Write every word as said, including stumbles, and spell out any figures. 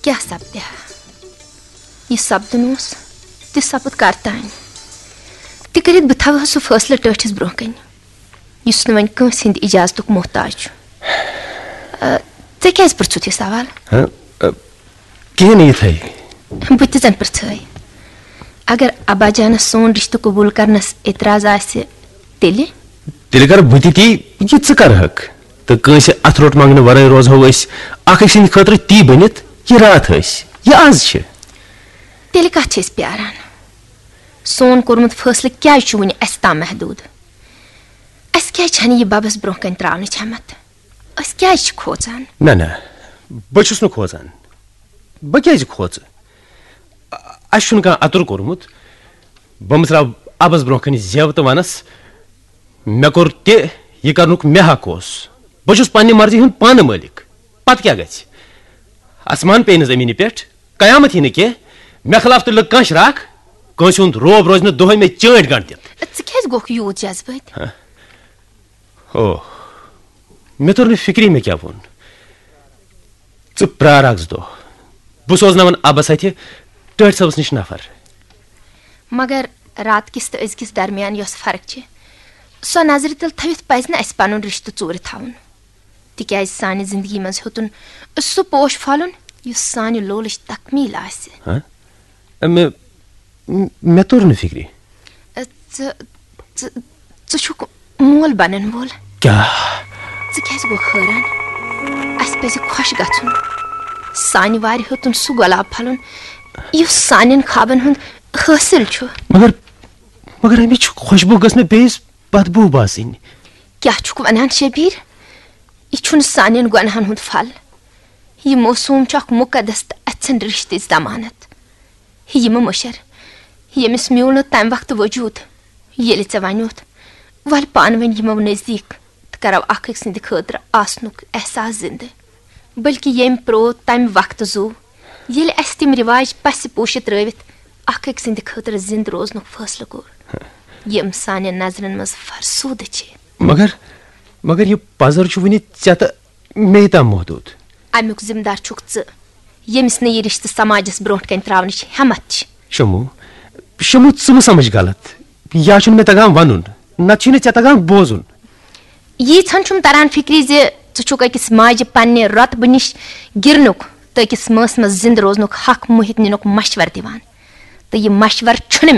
تہِ ہا سپدِ ہا۔ یہِ سپدُن اوس، تہِ سپُد کر تام۔ تہِ کٔرِتھ بہٕ تھاوٕ ہا سُہ فٲصلہٕ ٹٲٹھِس برونٛہہ کنہِ، یُس نہٕ وۄنۍ کٲنٛسہِ ہٕنٛدِ اجازتُک محتاج چھُ۔ آ، ژےٚ کیٛازِ پرٛژھُتھ یہِ سوال؟ ہاں، آ، کِہیٖنۍ نہٕ یِتھَے۔ بہٕ تہِ زن پرٛژھٲے۔ اگر ابا جانس سون رشتہٕ قبول کرنس اعتراض آسہِ، تیٚلہِ؟ تیٚلہِ کرٕ بہٕ تہِ تی، یہِ ژٕ کرہکھ۔ تہٕ کٲنٛسہِ اتھٕ روٚٹ منٛگنہٕ ورٲے روزہو أسۍ اکھ أکۍ سٕنٛدِ خٲطرٕ تی بٔنِتھ، یہِ راتھ ٲسۍ، یہِ از چھِ۔ تیٚلہِ کتھ چھِ أسۍ پیاران؟ سون کوٚرمُت فٲصلہٕ کیٛازِ چھُ وُنہِ اسہِ تام محدوٗد؟ اسہِ کیٛازِ چھنہٕ یہِ ببس برونٛہہ کنہِ تراونٕچ ہٮ۪متھ؟ أسۍ کیٛازِ چھِ کھوژان؟ نہ، نہ، بہٕ چھُس نہٕ کھوژان۔ بہٕ کیٛازِ کھوژٕ؟ اَسہِ چھُنہٕ کانٛہہ اَتُر کوٚرمُت۔ بہٕ مٕژراو اَبَس برٛونٛہہ کَنہِ زٮ۪و تہٕ وَنَس، "مےٚ کوٚر تہِ، یہِ کَرنُک مےٚ حق اوس۔ بہٕ چھُس پنٛنہِ مرضی ہُنٛد پانہٕ مٲلِک۔ پَتہٕ کیٛاہ گژھِ؟ آسمان پیٚیہِ نہٕ زٔمیٖنہِ پٮ۪ٹھ، قیامت یی نہٕ کینٛہہ۔ مےٚ خلاف تُلہِ نہٕ کانٛہہ شراکھ، کٲنٛسہِ ہُنٛد روب روزِ نہٕ دۄہَے مےٚ چٲنٛٹۍ گنٛڈ دِتھ۔" ژٕ کیٛازِ گوٚکھ یوٗت جذبٲتۍ؟ ہہ۔ او، مےٚ توٚر نہٕ فِکری مےٚ کیٛاہ ووٚن۔ ژٕ پرٛار اَکھ زٕ دۄہ۔ بہٕ سوزناوَن اَبَس اَتھِ ٹٲٹھۍ صٲبَس نِش نفر۔ مگر رات کِس تہٕ أزکِس درمیان یۄس فرق چھِ، سۄ نظرِ تل تھٲوِتھ پَزِ نہٕ اَسہِ پَنُن رِشتہٕ ژوٗرِ تھاوُن۔ تِکیٛازِ سانہِ زِندگی منٛز ہیوٚتُن سُہ پوش پھۄلُن، یُس سانہِ لولٕچ تکمیٖل آسہِ۔ ہہ؟ مےٚ، مےٚ توٚر نہٕ فِکرِ۔ ژٕ، ژٕ، ژٕ چھُکھ مول بنن وول۔ کیٛاہ؟ ژٕ کیٛازِ گوٚکھ حٲران؟ اَسہِ پَزِ خۄش گژھُن۔ سانہِ وارِ ہیوٚتُن سُہ گۄلاب پھۄلُن، یُس سانٮ۪ن خوابن ہُنٛد حٲصِل چھُ۔ مگر، مگر اَمِچ خوشبو گٔژھ نہٕ بیٚیِس بدبو باسٕنۍ۔ کیٛاہ چھُکھ وَنان، شبیٖر؟ یہِ چھُنہٕ سانٮ۪ن گۄناہن ہُنٛد پھل۔ یہِ موسوم چھُ اکھ مُقدس تہٕ اَژھٮ۪ن رِشتٕچ ضمانت۔ یہِ مہٕ مٔشر، ییٚمِس میوٗل نہٕ تَمہِ وقتہٕ وجوٗد، ییٚلہِ ژےٚ وَنیوتھ، "ولہٕ پانہٕ ؤنۍ یِمو نزدیٖک تہٕ کرو اکھ أکۍ سٕنٛدِ خٲطرٕ آسنُک احساس زِندٕ"۔ بلکہِ ییٚمۍ پرٛوو تَمہِ وقتہٕ زُو، ییٚلہِ اَسہِ تِم رِواج پَسہِ پوٗشِتھ ترٲوِتھ اکھ أکۍ سٕنٛدِ خٲطرٕ زِندٕ روزنُک فٲصلہٕ کوٚر، یِم سانٮ۪ن نظرن منٛز فرسوٗدٕ چھِ۔ مگر، مگر یہِ پزر چھُ وُنہِ ژےٚ تہٕ مے تام محدود۔ امیُک ذمہٕ دار چھُکھ ژٕ، ییٚمِس نہٕ یہِ رشتہٕ سماجس برونٛٹھ کنہِ تراونٕچ ہٮ۪متھ چھِ۔ شمو، شمو، ژٕ مہٕ سمجھ غلط۔ یا چھُنہٕ مےٚ تگان ونُن، نتہٕ چھُے نہٕ ژےٚ تگان بوزُن۔ ییٖژہن چھُم تران فکرِ زِ ژٕ چھُکھ أکِس ماجہِ پننہِ رۄتبہٕ نِش گِرنُک تہٕ أکِس مٲنٛسہِ منٛز زِندٕ روزنُک حق مُہِتھ نِنُک مشورٕ دِوان۔ تہٕ یہِ مشورٕ چھُنہٕ مےٚ